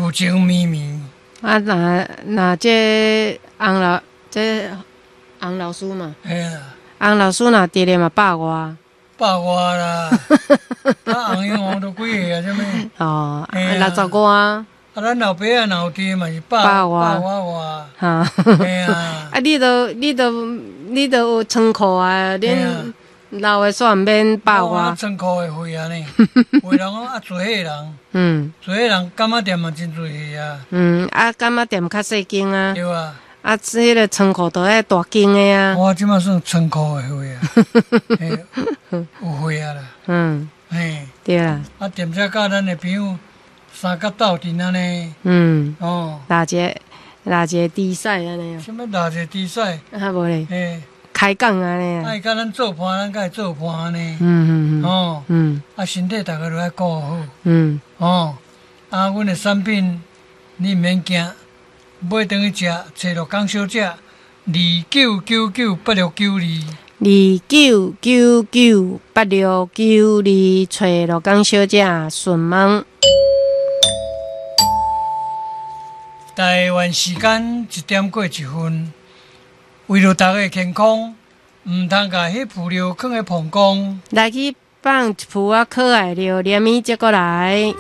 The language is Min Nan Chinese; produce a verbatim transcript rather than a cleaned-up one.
舊情綿綿。啊，若若這洪老這洪老師嘛，嘿啦，洪老師若佇咧嘛百外。百外啦，啊，洪英王都幾歲啊？啥物？哦，嘿啊六十外。啊，咱老爸啊，若有佇嘛是百百外百外外。哈。嘿啊。啊，你都你都你都有倉庫啊，恁老的煞毋免百外。倉庫的貨啊呢，有的人講啊，濟歲人，嗯，濟歲人柑仔店嘛真濟歲啊。嗯，啊，柑仔店較細間啊。對啊。啊，這个倉庫都愛大間的啊。我這馬算倉庫的貨啊，嘿，有貨啊啦。嗯。嘿。對啦。啊，踮遮佮咱的朋友相佮鬥陣按呢。嗯。哦。拉一个拉一个比賽按呢。啥物拉一個比賽？啊，無咧。嘿。開講按呢。愛佮咱做伴，咱佮伊做伴按呢。嗯嗯嗯。哦。嗯。啊，身體逐个都愛顧好。嗯。哦。啊，阮的產品你毋免驚。買轉去食，揣陸江小姐，二九九九八六九二。二九九九八六九二，揣陸江小姐順問。台灣時間一點過一分，為著大家的健康，毋通共彼浮尿囥佇膀胱。來去放一浮仔可愛尿，連伊接過來。